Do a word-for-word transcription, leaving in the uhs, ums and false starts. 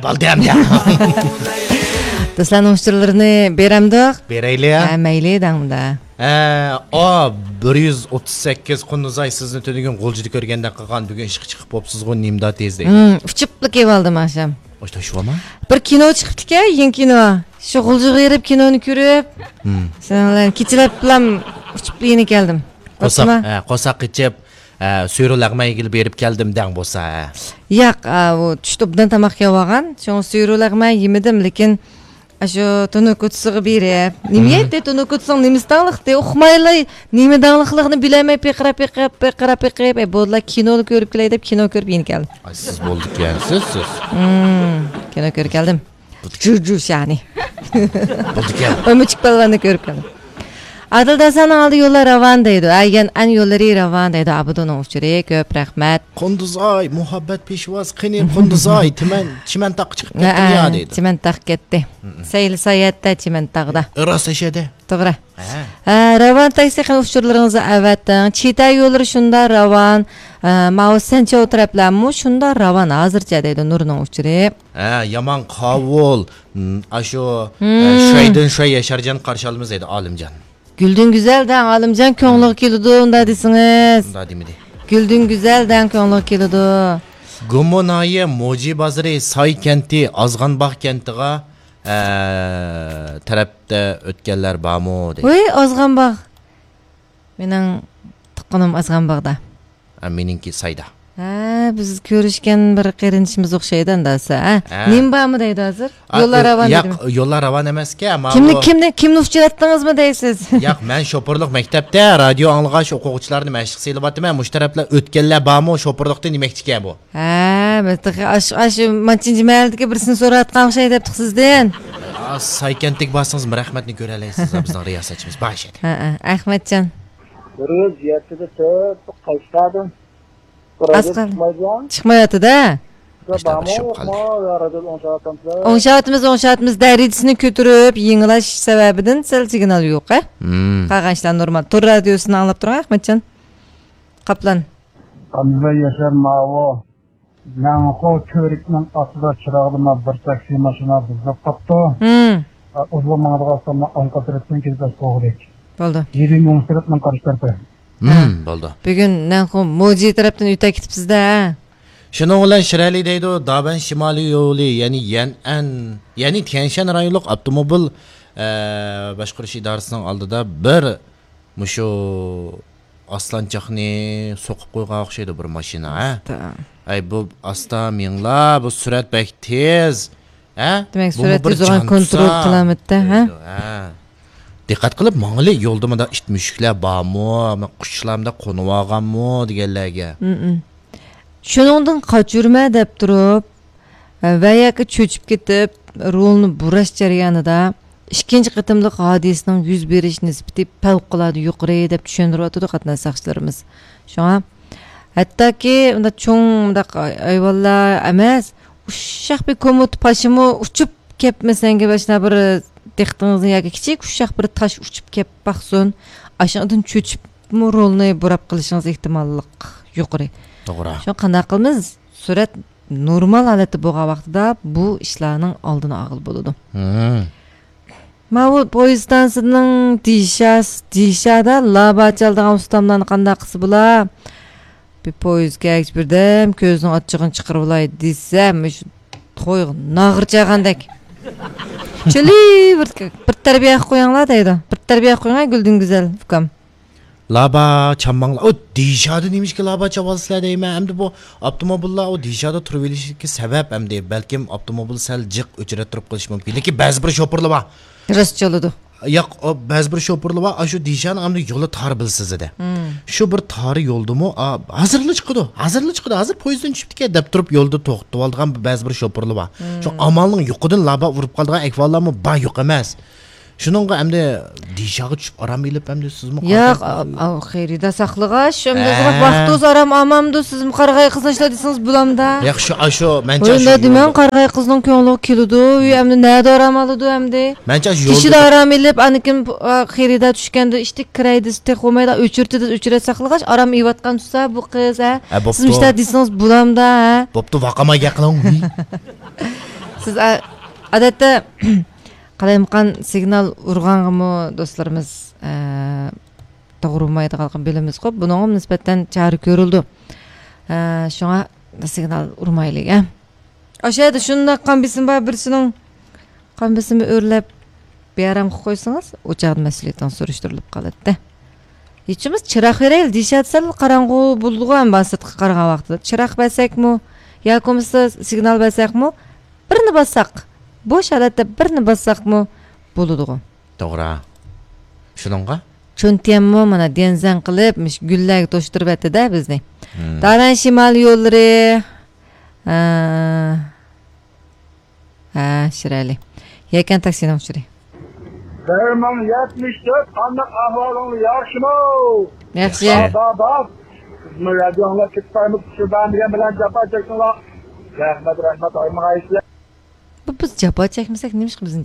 بولدى ئەمدى. دوستلارنىڭ ئۇچۇرلىرىنى بېرەمدۇق؟ بېرەيلى. ھە، مەيلى، دەڭمۇدا. ھە، ئا، بىر يۈز ئوتتۇز سەككىز، قۇندۇزئاي، سىزنى تۈنۈگۈن غۇلجىدا كۆرگەندەك قىلغان، بۈگۈن ئىشقا چىقىپ بوپسىزغۇ، نېمىدا تېز دەيدۇ. ھىم، ئۇچۇپلا كېلىۋالدىم ئاخشام. ئاشتا شۇ ما؟ بىر كىنو چىقىپتىكەن، يېڭى كىنو. شۇ غۇلجىغا بېرىپ كىنونى كۆرۈپ، ھىم، شۇنىڭ بىلەن كېچىلەپلام ئۇچۇپ يېنى كەلدىم. قورساق، بوپتۇما؟ ھە، قورساق قېچىپ، ھە، سۈيرۈ لەغمەنگىلا بېرىپ كەلدىم دەڭ بولسا، ھە. ياق، ئا، ئۇ چۈشتە ئوبدان تاماق يەۋالغان، شۇڭا سۈيرۈ لەغمەن يېمىدىم، لېكىن ئاشۇ تونۇكۇتسىغا بېرىپ، نېمە يەيتتى؟ تونۇكۇتسىنىڭ نېمىسى داڭلىقتى؟ ئۇقمايلا، نېمە داڭلىقلىقىنى بىلەلمەي پىقىراپ، پىقىراپ، پىقىراپ، پىقىراپ، ئەي، بولدىلا، كىنونى كۆرۈپ كېلەي دەپ كىنو كۆرۈپ يېنى كەلدىم. ئاي، سىز بولىدىكەنسىز، سىز. ھىم، كىنو كۆرۈپ كەلدىم. جۇجۇشانى. بولىدىكەن. ئۆمۈچۈك پالۋاننى كۆرۈپ كەلدىم. ئادىل داسانىڭ ئالدى يوللار راۋان دەيدۇ. ھە، يەنئەن يوللىرى راۋان دەيدۇ. ئابىدۇنىڭ ئۇچۇرى كۆپ رەھمەت. قۇندۇزئاي، مۇھەببەت پېشۋاز، قېنى قۇندۇزئاي، تىمەن، چىمەنتاغقا چىقىپ كەتتىم يا دەيدۇ. چىمەنتاغ كەتتى. سەيلە ساياھەتتە چىمەنتاغدا. راست ئەشەدە. توغرا. ھە. ھە، راۋان تاكسى قېنى ئۇچۇرلىرىڭىزنى ئەۋەتىڭ. چىتە يوللىرى شۇنداق راۋان. ھە، ماۋۇ سەنچاۋ تەرەپلەرمۇ شۇنداق راۋان ھازىرچە دەيدۇ نۇرنىڭ ئۇچۇرى. ھە، يامان قاۋۇل. م، ئاشۇ، ھە، شۇيدىن شۇي ياشارجان قارشى ئالىمىز دەيدۇ، ئالىمجان. گۈلدۈن گۈزەل دەڭ، ئالىمجان كۆڭلىگە كېلىدۇ، ئۇنداق دېسىڭىز. ئۇنداق دېمىدى. گۈلدۈن گۈزەل دەڭ كۆڭلىگە كېلىدۇ. گۇمۇ ناھىيە موجى بازىرى ساي كەنتى ئازغانباغ كەنتىغا، ئە، تەرەپتە ئۆتكەنلەر بارمۇ دەيدۇ. ۋۇي، ئازغانباغ. مېنىڭ تۇغقىنىم ئازغانباغدا. ھە، مېنىڭكى سايدا. ھە، بىز كۆرۈشكەن بىر قېرىندىشىمىز ئوخشايدۇ ئەمدى دېسە، ھە؟ ھە. نېمە بارمۇ دەيدۇ ھازىر؟ ئا، يوللار ئە، راۋان ياق، دېدىمۇ؟ يوللار راۋان ئەمەسكەن، ئەمما كىمنى، بۇ كىمنى، كىمنى ئۇچراتتىڭىزمۇ دەيسىز؟ ياق، مەن شوپۇرلۇق مەكتەپتە رادىيو ئاڭلىغاچ ئوقۇغۇچىلارنى مەشىق سېلىۋاتىمەن، مۇشۇ تەرەپلەر ئۆتكەنلەر بارمۇ، شوپۇرلۇقتا دېمەكچىكەن بۇ. ھە، بىز تېخى ئاش-، ئاشۇ مانچىنچى مەھەللىدىكى بىرسىنى سوراۋاتقان ئوخشاي دەپتۇق سىزدىن. ئا، سايكەنتتىكى بارسىڭىز، رەھمەتنى كۆرەلەيسىز، بىزنىڭ رىياسەتچىمىز بار ئىشەدە. ھە، ھە، ئەخمەتجان. بىر يۈز يەتتىدە تۆت، قايسىلاردىن؟ ئاز قالدى. چىقمايۋاتىدۇ. ئوڭشاۋاتىمىز، ئوڭشاۋاتىمىز. دەرىجىسىنى كۆتۈرۈپ، يېڭىلاش سەۋەبىدىن سەل سىگنال يوق، ھە؟ قالغان ئىشلار نورمال. تور رادىيوسىنى ئاڭلاپ تۇرۇڭ، ئەخمەتجان. قاپلان. قاندىباي ياشار ماۋۇ. مەنخۇ كۆۋرۈكنىڭ ئاستىدا چىراغلىما بىر تاكسى ماشىنا بۇزۇلۇپ قاپتۇ. ئۇزۇن ماڭىدىغان ئاڭقا تەرەپتىن كېلىپ بولغۇدەك. بولدى. يېرى مۇڭ سىرتنىڭ قارشى تەرىپى. ھە. بولدى. بۈگۈن نەنخۇ موجى تەرەپتىن ئۆتە كېتىپسىز-دە. شۇنىڭ بىلەن شىرئەلى دەيدۇ، دابەن شىمالىي يولى، يەنى يەنئەن، يەنى تيەنشەن رايونلۇق ئاپتوموبىل، ئە، باشقۇرۇش ئىدارىسىنىڭ ئالدىدا بىر مۇشۇ ئاسلانچاقنى سوقۇپ قويغان ئوخشايدۇ بىر ماشىنا، ھە؟ ئەي، بۇ ئاستا مېڭىڭلار، بۇ سۈرئەت بەك تېز. ھە؟ دېمەك، سۈرئەت تېز بولغان كونترول قىلالمىدى، ھە؟ دىققەت قىلىپ ماڭىلى، يولدا مۇنداق ئىت مۈشۈكلەر بارمۇ، قۇشلار مۇنداق قونۇۋالغانمۇ دېگەنلەرگە. شۇنىڭدىن قاچۇرمە دەپ تۇرۇپ، ۋە ياكى چۆچۈپ كېتىپ، رولنى بۇراش جەريانىدا ئىككىنچى قېتىملىق ھادىسىنىڭ يۈز بېرىش نىسبىتى پەۋقۇلئاددە يۇقىرى دەپ چۈشەندۈرۈۋاتىدۇ قاتناش ساقچىلىرىمىز. شۇڭا ھەتتاكى ئۇنداق چوڭ مۇنداق ھايۋانلار ئەمەس، ئۇششاق بىر كومۇت پاشىمۇ ئۇچۇپ كەپ، مەسىلەن، بىر دىققىتىڭىزنى ياكى كىچىك ئۇششاق بىر تاش ئۇچۇپ كەپ باقسۇن، ئاشۇنىڭدىن چۆچۈپمۇ رولنى بۇراپ قېلىشىڭىز ئېھتىماللىق يۇقىرى. توغرا. شۇڭا قانداق قىلىمىز؟ سۈرئەت نورمال ھالەتتە بولغان ۋاقتىدا بۇ ئىشلارنىڭ ئالدىنى ئالغىلى بولىدۇ. ماۋۇ پويىز ئىستانسىسىنىڭ دىشاس-، دىشادا لابا چالىدىغان ئۇستاملارنى قانداق قىلسا بولا؟ بىر پويىز كەلگۈچە بىردەم كۆزىنىڭ ئاچچىقىنى چىقىرىۋالاي دېسەم، مۇشۇ تويغا ناغرا چالغاندەك. چىلى بىر، بىر تەربىيە قويۇڭلار دەيدۇ. بىر تەربىيە قويۇڭ، گۈلدۈن گۈزەل ئۇكام. لابا چالماڭلار. ئۇ دىشادا نېمىشقا لابا چالىسىلەر دەيمەن. ئەمدى بۇ ئاپتوموبىللار ئۇ دىشادا تۇرۇۋېلىشىدىكى سەۋەب ئەمدى بەلكىم ئاپتوموبىل سەل جىق ئۆچرەتتۈرۈپ قېلىشى مۇمكىن. لېكىن بەزى بىر شوپۇرلار بار. راست چالىدۇ. ياق، ئۇ بەزى بىر شوپۇرلار بار، ئاشۇ دىشانىڭ ئەمدى يولى تار بىلسىز ئىدى. شۇ بىر تار يولدىمۇ، ئا، ھازىرلا چىقىدۇ، ھازىرلا چىقىدۇ، ھازىر پويىزدىن چۈشۈپتىكەن دەپ تۇرۇپ يولدا توختىتىۋالىدىغان بەزى بىر شوپۇرلار بار. شۇ ئامالنىڭ يوقىدىن لابا ئۇرۇپ قالىدىغان ئەھۋاللارمۇ بار، يوق ئەمەس. شۇنىڭغا ئەمدى دىشاغا چۈشۈپ ئارام ئېلىپ ئەمدى سىزمۇ ياق، قانداق؟ ئاۋۇ خېرىدار ساقلىغاچ، ئەمدى ھە. ۋاقتىڭىز ئارام ئالمامدۇ، سىزمۇ قارىغاي قىزنى ئىشلەت دېسىڭىز بولامدا؟ ياق، شۇ، ئاشۇ، مەنچە ھۆي، ئاشۇ نېمە دېمەڭ، قارىغاي قىزنىڭ كۆڭلىغا كېلىدۇ، ھۆي، ئەمدى نەدە ئارام ئالىدۇ ئەمدى؟ مەنچە ئاشۇ كىشىدە يولدا ئارام ئېلىپ، ئاندىن كېيىن، ئا، خېرىدار چۈشكەندە ئىشتىك كىراي دېسە تېخى بولمايدۇ، ئۆچۈرتى دېسە ئۆچۈرەت ساقلىغاچ، ئارام ئېلىۋاتقان تۇرسا بۇ قىز، ھە؟ ھە، بوپتۇ. سىزمۇ ئىشلەت دېسىڭىز بولامدا، ھە؟ بوپتۇ، ۋاقاماي گەپ قىلىڭ. سىز ئا-، ئادەتتە قالايمىقان سىگنال ئۇرغانغىمۇ دوستلىرىمىز، ئە، توغرا ئۇرمايدىغانلىقىنى بىلىمىزغۇ. بۇنىڭغا نىسبەتەن چارە كۆرۈلىدۇ. ئە، شۇڭا سىگنال ئۇرمايلى، ئە. ئاشۇ يەردە شۇنداق قان بېسىمى بار بىرسىنىڭ قان بېسىمى ئۆرلەپ، بىئارام قىلىپ قويسىڭىز، ئۇ چاغدا مەسئۇلىيىتىڭىز سۈرۈشتۈرۈلۈپ قالاتتى. ھېچىمىز چىراغ بېرەيلى دېيىشەتسەن، قاراڭغۇ بولىدىغۇ ئەمما سىرتقا قارىغان ۋاقتىدا. چىراغ بەرسەكمۇ، ياكى بولمىسا سىگنال بەرسەكمۇ، بىرنى باسساق، بوش ھالەتتە بىرنى باسساقمۇ بولىدىغۇ. توغرا. شۇنىڭغا؟ چۈنتيەنمۇ مانا ديەنزەن قىلىپ، مۇشۇ گۈللەرگە توشتۇرۇۋەتتى-دە بىزنى. دارەن شىمال يوللىرى. ھە. ھە، شىرەلى. يەكەن تاكسىنىڭ ئۇچۇرى. بىر مىڭ يەتمىش تۆت، قانداق ئەھۋالىڭلار، ياخشىمۇ؟ ياخشى. ياخشى. بار، بار، بار. سىزمۇ رادىيوڭلار كېتىپ قالمىسۇن، شۇ بەرمىگەن بىلەن جاپا چەكتىڭلار. رەھمەت، رەھمەت، ئايمىغايسىلەر. بۇ بىز جاپا چەكمىسەك، نېمىشقا بىزنى